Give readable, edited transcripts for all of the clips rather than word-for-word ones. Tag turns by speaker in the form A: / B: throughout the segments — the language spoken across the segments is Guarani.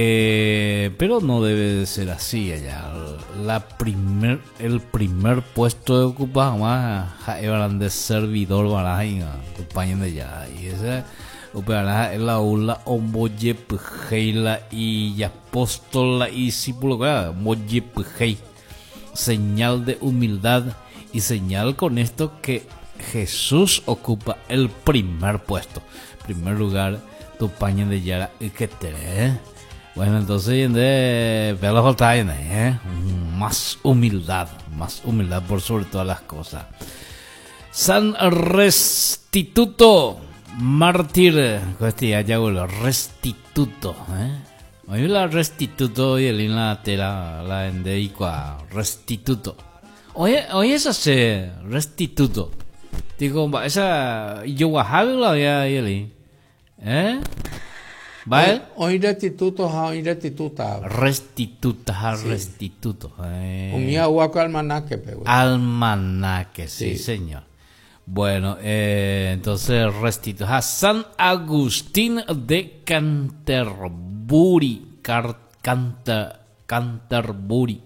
A: Eh, pero no debe de ser así allá. La primer, el primer puesto de ocupa hag̃ua ha'éva nde servidor va'erã hína Tupã Ñandejára. Y ese upevarã ha'e la ou la ombojepyhéi la ijapóstol la idiscípulo-kuéra ombojepyhéi. Señal de humildad y señal con esto que Jesús ocupa el primer puesto, primer lugar Tupã Ñandejára yketére. Bueno, entonces ñande pe la faltaba ñande, ¿eh? Más humildad, más humildad por sobre todas las cosas. San Restituto, mártir, cuesta ya Restituto, ¿eh? Oĩ la restituto oje'eli la térã la hende oikuaa restituto. Oĩ oĩ esa che restituto. Digo mba'éicha ijoguahágui la oĩ oje'eli. Eh? Mba'e?
B: Oĩ restituto ha oĩ restituta.
A: Restituta ha restituto.
B: Eh. Umíva oúva ko almanaque-pe.
A: Almanaque, sí, sí señor. Bueno, eh, entonces restituto. Ha San Agustín de Canterbury. Car, Canter, Canterbury.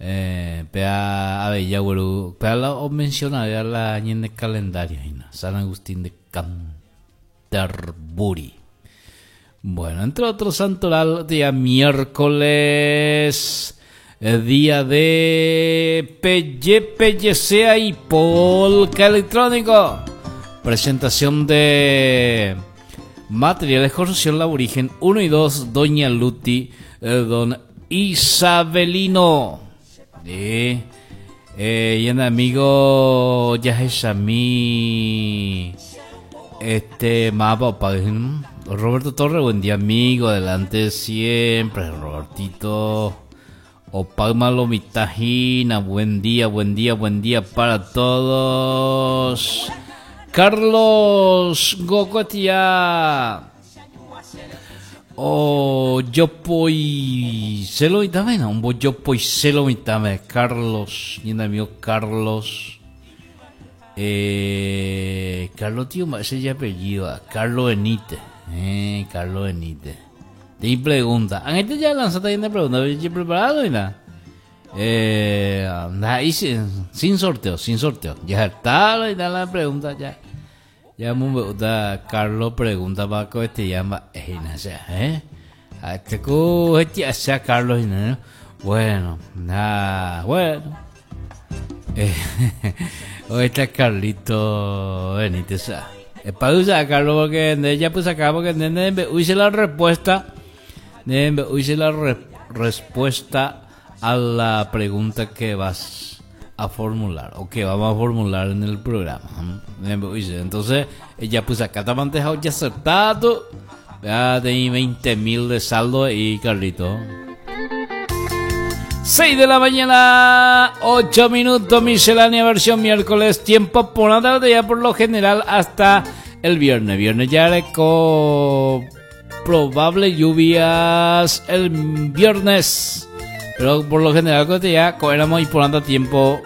A: Eh, pea avei jagueru, pea la omencionavéva la ñane calendario hína, San Agustín de Canterbury. Bueno, entre otros santoral, día miércoles, eh, día de Pelle Pellecea y Polka Electrónico. Presentación de materiales construcción Laborigen 1 y 2, Doña Luti, eh, Don Isabelino. Eh, eh, y amigo jahechami este mapa opa Roberto Torres, buen día amigo, adelante siempre, Robertito. Opáyma lo mitã hína, buen día, buen día, buen día para todos. Carlos Gocotia. Ojopoise lo mitãme, ombojopoise lo mitãme, Carlos, ñane amigo Carlos. Eh, Carlos tío, mba'e che apellido, Carlos Benítez. Eh, Carlos Benítez. Te pregunta, ág̃aite ya lanzata ñane pregunta, che preparado hína. Eh, ndaha'éi sin sorteo, sin sorteo. Ya está la pregunta ya. Ya mombe'úta Carlos pregunta pa ko este mba'e hína che, eh? Ha'ete ku hetia'echa Carlos hína, ¿no? Bueno, nada, bueno. Eh, hoy está Carlito Benítez. Epáysa Carlos porque nde japysaka porque nde nembe'úiche la respuesta, nembe'úiche la respuesta a la pregunta que vas a formular o que vamos a formular en el programa. Entonces, ejapysakátapante ha ojasertátu, ya teĩ 20.000 de saldo y Carlito. 6 de la mañana, 8 minutos, miscelánea versión miércoles, tiempo por la tarde ya por lo general hasta el viernes. Viernes ya con probable lluvias el viernes. Pero por lo general, cuando ya éramos y por tiempo.